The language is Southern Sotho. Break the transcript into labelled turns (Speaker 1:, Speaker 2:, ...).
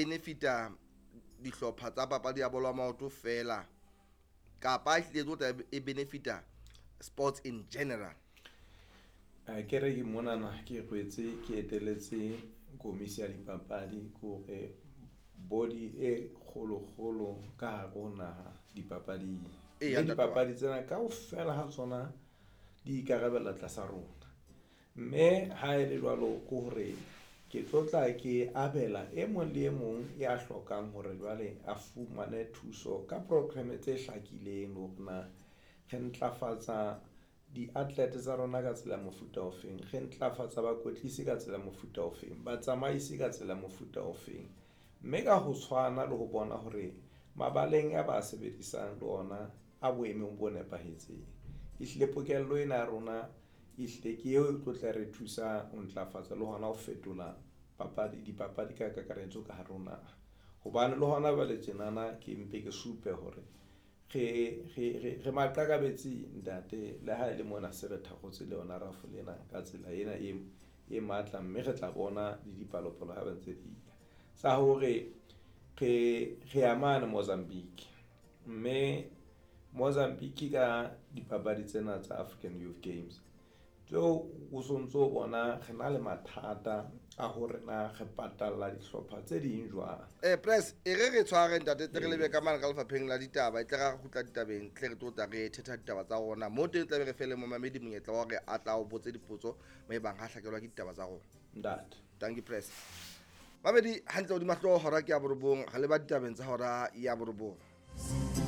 Speaker 1: benefita dihlopha tsa papadi ya bolo ya maoto fela kapa ehlile e tlo tla e benefita sports in general?
Speaker 2: Ke re ke monana ke rwetse ke eteletse komisi ya dipapadi ke hore body e kgolokgolo ka hare ho naha dipapading.
Speaker 1: Eya,
Speaker 2: Mme
Speaker 1: ntate wa ka.
Speaker 2: dipapadi tsena kaofela ha tsona di ikarabella tlasa rona, mme ha e le jwalo ke hore ke tlo tla ke abela e mong le e mong ya hlokang hore jwale a fumane thuso ka program tse hlakileng hore na re ntlafatsa di-athlete tsa rona ka tsela ya mofuta ofeng, re ntlafatsa bakwetlisi ka tsela ya mofuta ofeng, batsamaisi ka tsela ya mofuta ofeng, mme ka ho tshwana le ho bona hore mabaleng a ba sebedisang le ona a boemong bo nepahetseng. Ehlile pokello ena ya rona ehlile ke eo e tlo tla re thusa ho ntlafatsa le hona ho fetola papadi dipapadi ka kakaretso ka hare ho naha hobane le hona jwale tjenana ke mpe ke supe hore re maqakabetsi ntate. Le ha ele mona se re thakgotse le yona rafole ena ka tsela ena e matla, mme re tla bona le dipalopalo ha ba ntse di ya sa hore re ya mane Mozambique mme Mozambique ka dipapadi tsena tsa African Youth Games tseo o sontso bona re na le mathata a hore na re patalla dihlopha tse ding jwang.
Speaker 1: Press e re re tshware ntate, tle re lebe ka mane ka lefapheng la ditaba, e tle ra kgutla ditabeng, tle re tlo tla re thetha ditaba tsa rona mo teng, tla be re fele momamedi monyetla wa hore a tla o botse dipotso mo e bang ha hlakelwa ke ditaba tsa rona.
Speaker 2: Ntate.
Speaker 1: Thank you, press. Mamedi hantle hodima hlooho, hora ke ya 9, re leba ditabeng tsa hora ya 9.